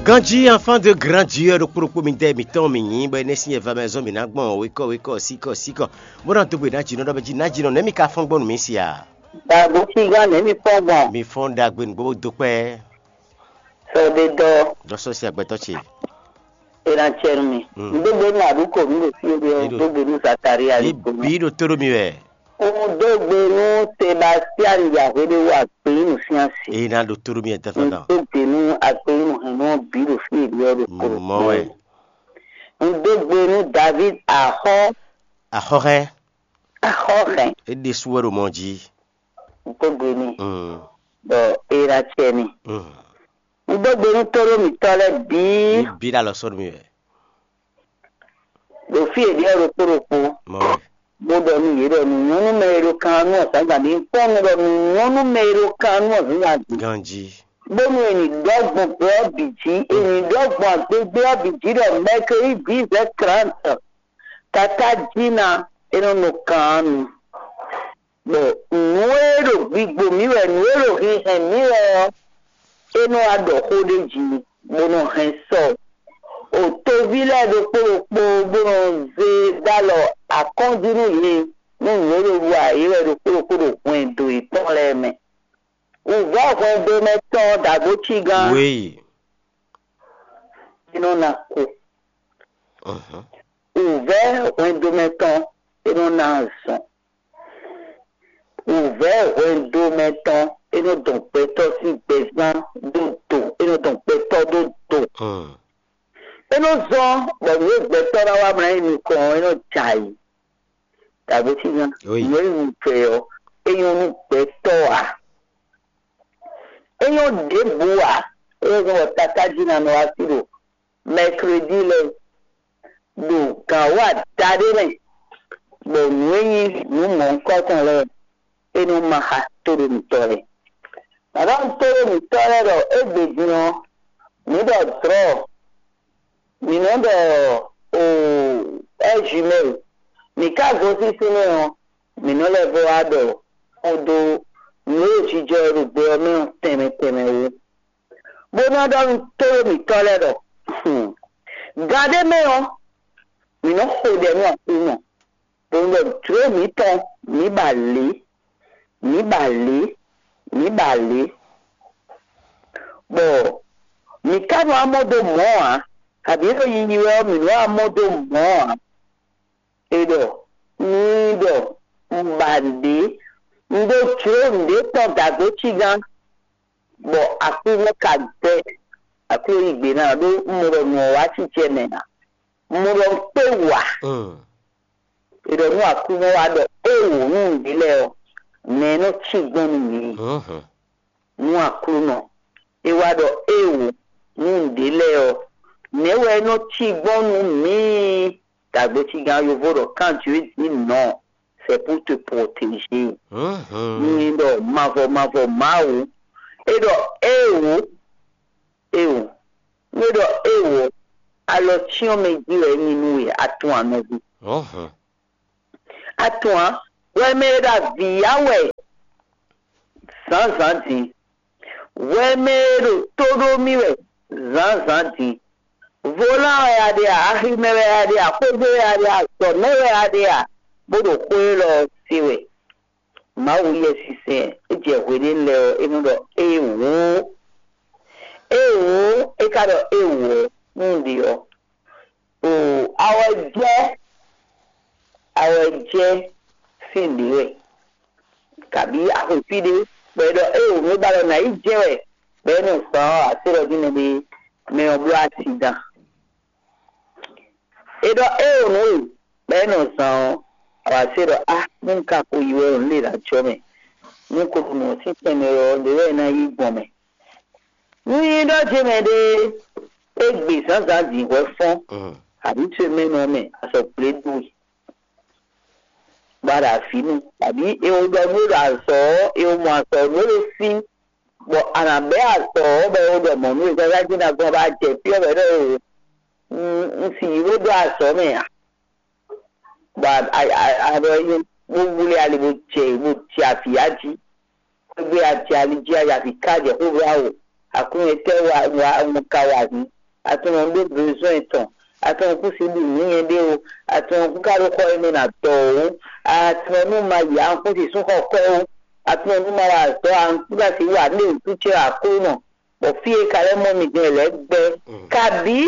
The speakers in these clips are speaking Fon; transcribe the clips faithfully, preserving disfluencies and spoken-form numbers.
Ganjí enfant de grand Dieu ɖokpó ɖokpó mi dɛ mǐtɔn mi nyǐ bɔ énɛ́ sín yɛva mɛ zɔn mǐ ná gbɔn wékɔ wékɔ síkɔ síkɔ, bó ná dó gbe nǎjínɔ ɖɔ bɛ́ jí nǎjínɔ nɛ̌ mi ka fɔ́n gbɔn nú mǐ sia? Dagbo sígán nɛ̌ mi fɔ́n gbɔn? Mi fɔ́n ɖagbe nǔgbó bó dó kpɛ́. Sɔdedɔ. Dɔ sɔ́ sí agbɛtɔ́ ce. È nǎ cɛ nú mi. Nǔ dó gbe nú àdúkò nú ɖo fí ó dó gbe nú Zakaria. Ní bí ɖo tó ɖó mi wɛ. Un dó gbe nú Sebastian Yahwede wú agbeyínu sín asi. Èyí ná ɖo tó ɖó mi wɛ tɛfɛ kan. Un dó gbe nú agbeyínu hɛn nú bǐ ɖo fí è ɖe ɔ́ ɖo kpo. Mɔ wɛ. Un dó gbe nú David axɔ́. Axɔ́ hɛn. Axɔ́ hɛn. É ɖésú wɛ ɖo mɔ jí. Un dó gbe n'i. Bɔ é ná cɛ n'i. Un dó gbe nú tóɖó mǐtɔn lɛ́ɛ bǐ. Ní bí ɖo alɔ sɔ́ nú mi wɛ. Ɖo fí e ɖe ɔ́ ɖokpó ɖokpó, bó ɖɔ nú yě ɖɔ nǔ nyɔ́ nú mɛ e ɖo kan ɔ́ nú azǎngǎn ɖé. Un kpɔ́n nú ɖɔ nǔ nyɔ́ nú mɛ e ɖo kan ɔ́ nú azǎngǎn ɖé. Ganjí. Bónú è nǐ ɖɔ gbɔn gbɛ ɔ́ bǐ jí, è nǐ ɖɔ gbɔn agbégbé ɔ́ bǐ jí ɖɔ mɛkeyídí vɛ̌ trǎnti, tatájí ná é nɔ nɔ kan ɔ́ nu. Bɔ nǔ e ɖo gbigbo mǐ wɛ, nǔ e ɖo hinhɛn mǐ wɛ ɔ́, é nɔ wá ɖɔ xó ɖé jí, bó nɔ hɛn sɔ o toví lɛ́ɛ ɖokpó ɖokpó, bó nɔ zé dó alɔ akɔ́njí nú yě, nú nǔ e ɖo ɖu ayǐ wɛ ɖokpó ɖokpó ɖo hwɛndo yětɔn lɛ́ɛ mɛ. Wǔvɛ́ hwɛndo mɛ tɔn dǎgbócígán. Wěyi. É nɔ ná kú. Wǔvɛ́ hwɛndo mɛ tɔn é nɔ ná azɔn. Wǔvɛ́ hwɛndo mɛ tɔn é nɔ dɔn gbɛtɔ́ sín gbɛzán ɖó do, é nɔ dɔn gbɛtɔ́ ɖó do. É nɔ zɔ́n bɔ nǔ e gbɛtɔ́ ná wá mlá nyi nukɔn ɔ́, é nɔ jɛ ayǐ. Dǎgbócígán, nǔ e un vɛ ɔ́, é nyɔ́ nú gbɛtɔ́ ǎ. É nyɔ́ ɖěbǔ ǎ, é nyɔ́ gbɔn bɔ tatájí ná nɔ wá sí ɖo mɛkredi lɛ́ɛ ɖo gǎn wú adaɖé mɛ, bɔ nǔ e nyí nǔ mɔ̌hunkɔtɔn lɛ́ɛ é nɔ ma xá tóɖomítɔ́ lɛ́ɛ. Mǎɖaxu tóɖomítɔ́ lɛ́ɛ ɖɔ égbé din ɔ́, mǐ ɖɔ drɔ̌, mǐ nɔ ɖɔ o ɛ́jumɛ́, mǐ ka gosín fínɛ́ ɔ́, mǐ nɔ lɛ́ vɔ wá ɖɔ xó dó nǔ e jijɔ e ɖo gbɛ ɔ́ mɛ ɔ́ tɛnmɛ tɛnmɛ wú. Bó ná ɖɔ nú tóɖó mǐtɔn lɛ́ɛ ɖɔ: Gan ɖé mɛ ɔ́, mǐ nɔ́ xo ɖɛ nú Aklúnɔ, bó nɔ́ ɖɔ jlǒ mǐtɔn mǐ ba lě, mǐ ba lě, mǐ ba lě, bɔ mǐ ka nɔ amɔ dó mɔ̌ ǎ, kabǐ ɖo yiyi wɛ ɔ́, mǐ nɔ́ amɔ dó mɔ̌ ǎ. È ɖɔ n'i ɖɔ: Un ba nǔɖé, un ɖó jlǒ nǔɖé tɔn dǎgbócígán, bɔ aklúnɔ ka gbɛ́. Aklúnɔ yí gbe ná ɖó un mɔ ɖɔ nǔ ɔ́ wá acícɛ mɛ ǎ. Un mɔ ɖɔ un kpé wǎ. È ɖɔ nú aklúnɔ wá ɖɔ: Éeǒ, nú nǔɖé lɛ́ɛ ɔ́, mɛ e nɔ cí gbɔn nú mǐ. Nú aklúnɔ, é wá ɖɔ: Éeǒ, nú nǔɖé lɛ́ɛ ɔ́, nɛ̌ wɛ é nɔ cí gbɔn nú mǐ? Dǎgbécígán yovo ɖɔ: Quand Dieu dit non, c'est pour te protéger. Ní ɖɔ mavɔ mavɔ Mawu, é ɖɔ: Éeǒ, éeǒ. Nú é ɖɔ: Éeǒ, alɔ cyɔ́n mɛ jí wɛ é nyí nú we, a tunwun a nɔví? A tunwun a? Hwɛ mɛ e ɖo avǐ ya wɛ zǎnzǎn din, hwɛ mɛ e ɖo tó ɖó mì wɛ zǎnzǎn din. Volán wɛ a ɖe a, aximɛ wɛ a ɖe a, xwédo wɛ a ɖe a, azɔ̌mɛ wɛ a ɖe a, bó ɖo xó élɔ́ ɔ́ se wɛ. Mawu Yɛsinsɛn e jɛ hweɖénu lɛ́ɛ ɔ́, é nɔ ɖɔ: Éeǒ, éeǒ, é ka ɖɔ: Éeǒ ɔ́, nú un ɖe ɔ́, oo, a wɛ jɛ, a wɛ jɛ sín ɖě wɛ, kabǐ a xwe fí ɖé, bɔ è ɖɔ: Éeǒ, nǔ e ba ɖɔ nǎ yi jɛ wɛ, bɔ é nɔ zán ɔ́, a se ɖɔ jí mɛɖé mɛ ɔ́ bló asidan. È ɖɔ: Éeǒ, nǔ e bɔ é nɔ zán ɔ́, a wǎ se ɖɔ: Á, nú un ka ko yi wɛ ɔ́, nǔ ɖě ná jɔ mɛ. Nú un ko ɖu nǔ ɔ́ sín tɛnmɛ ɔ́, ɖě wɛ é ná yí gbɔn mɛ. Nú nyí ɖɔ ce mɛ ɖé é gbe zǎnzǎn din hwɛ fɔ́n, abǐ ce mɛ nɔ mɛ, a sɔ gblé dó e, bɔ a ɖo avǐ nu, abǐ è wo ɖɔ nú é ɖo azɔ̌ ɔ́, è wo mɔ azɔ̌ nú é ɖo fí, bɔ a nǎ bɛ́ azɔ̌ ɔ́, bɔ è wo ɖɔ mɔ̌ nú é, káká jí ná gbɔn bɔ a jɛ fí ɔ́, bɔ é ɖɔ: Éeǒ, un si yi bó dó azɔ̌ mɛ ǎ. Bɔ a ɖɔ é nyí bó wlí ali bó jɛ bó jɛ avǐ ya jí. Xwé gbe a jɛ ali jí a yi avǐ ká jɛ xó bló awo. Aklúnɔ etɛ́ wa wa un ka wa hǔn? Atunɔ ɖó besoin tɔn. Atunɔ kún si ɖu nǔ nyɛ ɖé o. Atunɔ kún ka ɖó xɔ e mɛ ná dɔ o. Atunɔ nú ma yi ankún si sún xɔ kɔ o. Atunɔ nú ma wa azɔ̌ ankún ka si wa ɖé wǔtu ce Aklúnɔ. Bɔ fí e ka lɛ́ mɔ mi din lɛ́ gbɛ. Kabǐ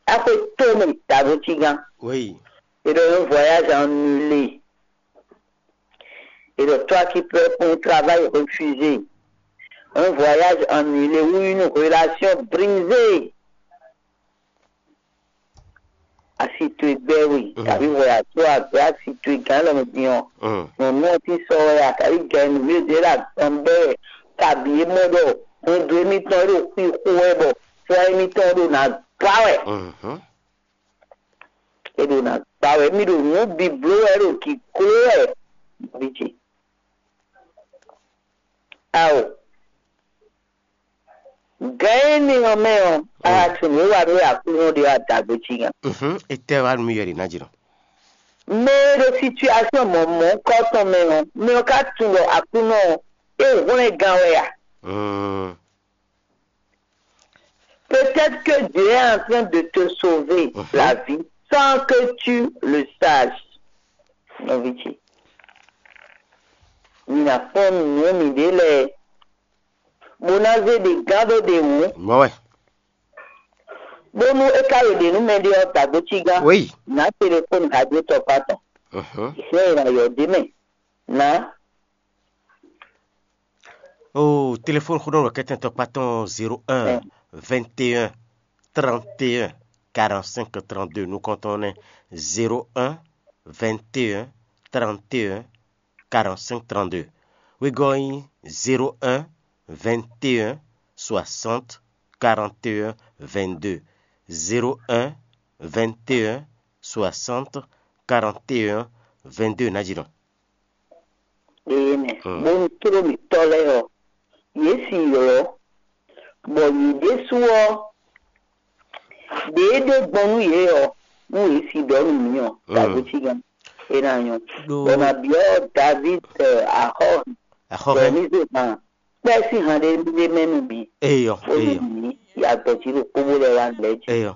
axwe tó mɛ dǎgocí gán. Oui. Et donc un voyage annulé. Et donc toi qui pleures pour un travail refusé. Un voyage annulé ou une relation brisée. Asi towe gbɛ we, kabi wɛ ato agbe asi towe gán lɔ mɛ din ɔ. Nyɔnu ɔ ti sɔ wɛ a kabi gɛ nu mi de la gbɔn bɛ wɛ, kabi e mɔ ɖɔ hwɛndo émítɔn e ɖo xwixo wɛ bɔ fɔ émítɔn ɖo na gba wɛ. E ɖo na gba wɛ, mi ɖo nǔ biblo wɛ, ɖo giglo wɛ. Nɔví ce. Ao. Gǎn énɛ́ ɔ́ mɛ ɔ́, a tunwun e wa nú Aklúnɔ ɖe ɔ́, a da gbe jí nya. Mhm. Etɛ́ wá nú mì wɛ ɖě ná jlɔ́? Mɛ e ɖo situasɔn mɔ̌mɔ́kɔ tɔn mɛ ɔ́, mɛ ɔ́ ka tunwun ɖɔ Aklúnɔ ɔ́, é hwlɛ́n gán wɛ a? Mm. Peut-être que Dieu est en train de te sauver la vie sans que tu le saches. Nɔví ce. Mi ná kpɔ́n nǔ miɖée lɛ́ɛ, bó ná zé ɖě gán ɖó ɖě wú. Mɔ̌ wɛ. Bónú é ka ɖo ɖě nú mɛɖé ɔ́, dǎgbécí gán. Oui. Nǎ telefóni hajétɔkpá tɔn. Mhm. Ìsɛ́ e ná yɔ ɖě mɛ. Nǎ. Oh, téléphone xó ɖɔ kɛtɛn tɔkpá tɔn zéro un vingt et un trente et un quarante-cinq trente-deux nukɔntɔn nɛ. Zéro un vingt et un trente et un quarante-cinq trente-deux. Wegɔ́ nyí zéro un vingt et un soixante quarante et un vingt-deux. Zéro un vingt et un soixante quarante et un vingt-deux ná jí nɔ. Ee mɛ, bónú tló mǐtɔn lɛ́ɛ ɔ́, yě si ylɔ́, bɔ yě ɖésú ɔ́, ɖě e ɖe gbɔn nú yě ɔ́, nú yě si ɖɔ nú mǐ ɔ́, tagotígan é ná nyɔ́. Bɔ ná byɔ́ David axɔ́, axɔ́ bɔ mí zé hàn kpɛ́ sín han ɖé ɖé mɛ nú mǐ. Eyɔ, bónú eyɔ. Mǐ yi agbɛ̌ jí ɖo kpóbó lɛ́ɛ wá lɛ̌ jí. Eyɔ.